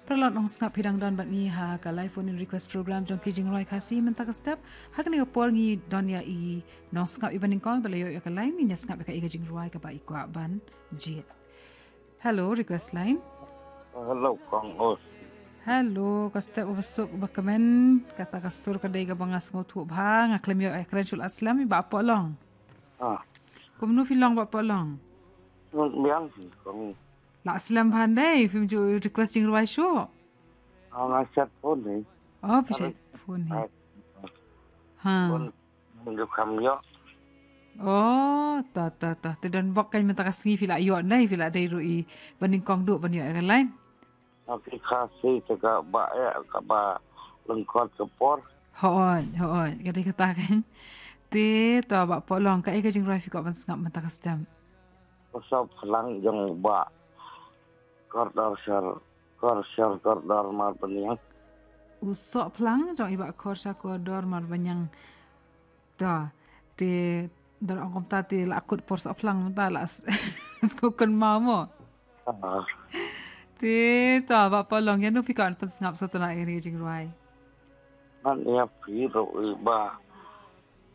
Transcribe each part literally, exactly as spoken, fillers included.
Paralok nongsngap, phi dang don bad ngi ha ka live phone in request program jong ki jingrwai Khasi mynta ka step. Ha kane ka por ngi don ïa i nongsngap iba nyngkong ba la ïoh ïa ka line, ngin ïa sngap ïa ka, ïa ka jingrwai kaba i kwah ban jied. Hello, request line. Hello, Kong Os. Hello, ka step uba suk uba kmen, kata ka sur ka dei kaba nga sngewthuh bha, nga khlem ïoh ïakren shuh, la slem, i Bah Pohlong. Ah. Kumno phi long Bah Pohlong? Biang phi, Kong. La slem bha ndei, phim ju request jingrwai shuh. Ah, nga chat phone ni. Oh, phi chat phone ni. Ai. Ha. Phone ni ju kham ïoh. Oh, ta, ta, ta. Te don bok kan mynta ka sngi phi la ïoh ndei, phi la dei ruh iba nyngkong duh ban ïoh ïa ka line. Nga phi Khasi te kaba eh, kaba lyngkot ka por. Hooid, hooid, ka dei kata kan. Te to Bah Pohlong, kaei ka jingrwai phi kwah ban sngap mynta ka step? U soh phlang jong Bah Kordor Shar, Kor Shar Kordor Marbaniang. U soh phlang jong i Bah Kor Shar Kordor Marbaniang. To, te don ong kumta te la kut por soh phlang mynta la s-, sngewkynmaw mo. Ah. Te to Bah Pohlong, ïano phi kwah pynsngap shatei na ïa kane ka jingrwai? Ngan ïa phi ruh i Bah,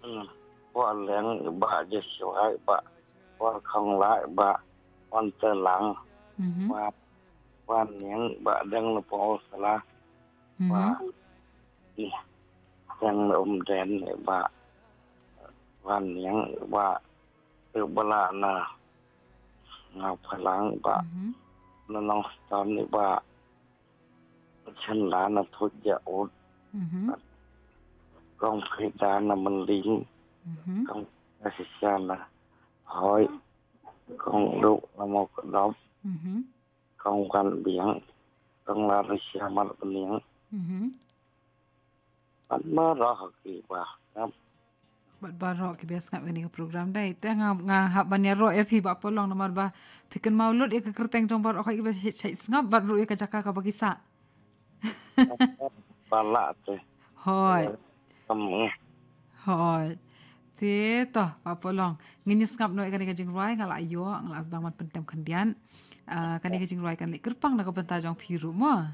hmm, Bah Leng, i Bah Joshua, i Bah Bah Khongla, i Bah Wan Telang, mhm, Bah Wan Niang, i Bah Deng Lepong Sala, mhm, Bah, ih, Deng Umden, i Bah Wan Niang, i Bah, i Bah la na Nga Phalang, i Bah, mhm, na Nongstoiñ, i Bah Chen la na Thuja Ut. Mhm. Kong Frida na Menling. Mhm. Kong Sisa na Hoi. Kong Duk na Mokdop. Mhm. Kong Wan Biang. Kong Larissa Marbaniang. Mhm. Bad baroh kiba sngap. Bad baroh kiba sngap ïa kane ka program dei. Te nga, nga hap ban ïaroh ïa phi Bah Pohlong namar ba phi kynmaw lut ïa ka kyrteng jong baroh kiba shait, shait sngap bad ruh ïa ka jaka kaba ki sah. Ba lah te. Hooid. Kam, eh. Hooid. Te to Bah Pohlong, ngin ïa sngap noh ïa kane ka jingrwai, nga la ïoh, nga la sdang ban pyntem khyndiat. Ah, kane ka jingrwai kan leit kyrpang na ka bynta jong phi ruh mo.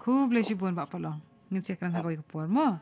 Khublei shibun Bah Pohlong. Ngin sa ïakren ha kawei ka por mo.